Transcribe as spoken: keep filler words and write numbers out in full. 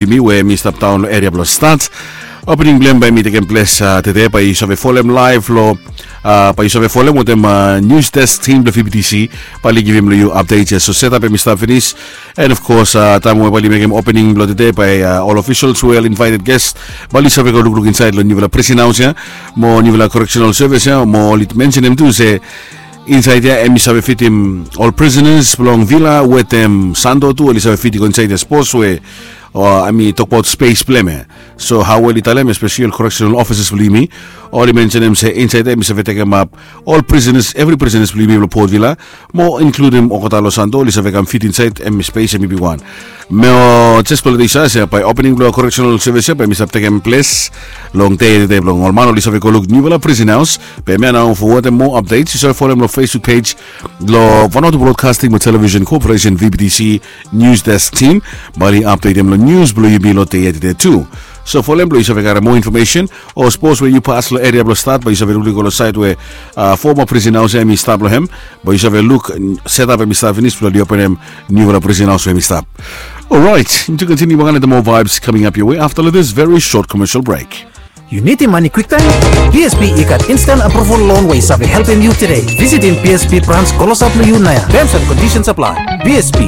yumi we mi stap daon long eria blong Stat. Opening blong hem bae mi tekem ples tede, bae yu save folem laev long, bae yu save folem wetem news desk team blong VBTC. Bae oli givim long yu update ya. So setup hem i stap finis. And of course, taem we bae oli mekem opening blong tede bae ol officials we ol invited guest, bae oli save go lukluk insaed long niufala prison haos ya, mo niufala correctional service ya, mo oli mensenem tu se insaed ya hem i save fitim ol prisoners blong Vila wetem Santo tu, oli save fit i go insaed ya sapos we hem i tokbaot spes blong hem ya. So hao oli talem, especially ol correctional officers blong yumi, oli mensenem se insaed ya hem i save tekemap ol prisoners, evri prisoners blong yumi blong Port Vila, mo inkludim olgeta long Santo, oli save kam fit insaed hem i spes hem i bigwan. Mo jes blong lete yu save se bae opening blong correctional service ya bae hem i stap tekem ples long dei ya tede blong ol man oli save go luk niufala prison haos. Be hemia nao, fo wetem moa updates yu save folem long Facebook page blong Vanuatu Broadcasting mo Television Corporation, VBTC News Desk Team. Bae oli updatem long news blong yumi long dei ya tede tu. So folem blong yu save karem moa infomesen, o sapos we yu pas long eria blong Stat, bae yu save lukluk i go long saed we foma prison haos ya hem i stap long hem, bae yu save luk setup hem i stap finis blong oli openem niufala prison haos we hem i stap. Orait, yumi tu kontiniu wangan wetem moa vibes coming up your way after this very short commercial break. Yu nidim mane kwiktaem? BSP i gat instant approval loan we i save helpem yu tede. Visitim BSP brans klosap long yu naoia. Terms and conditions apply. BSP,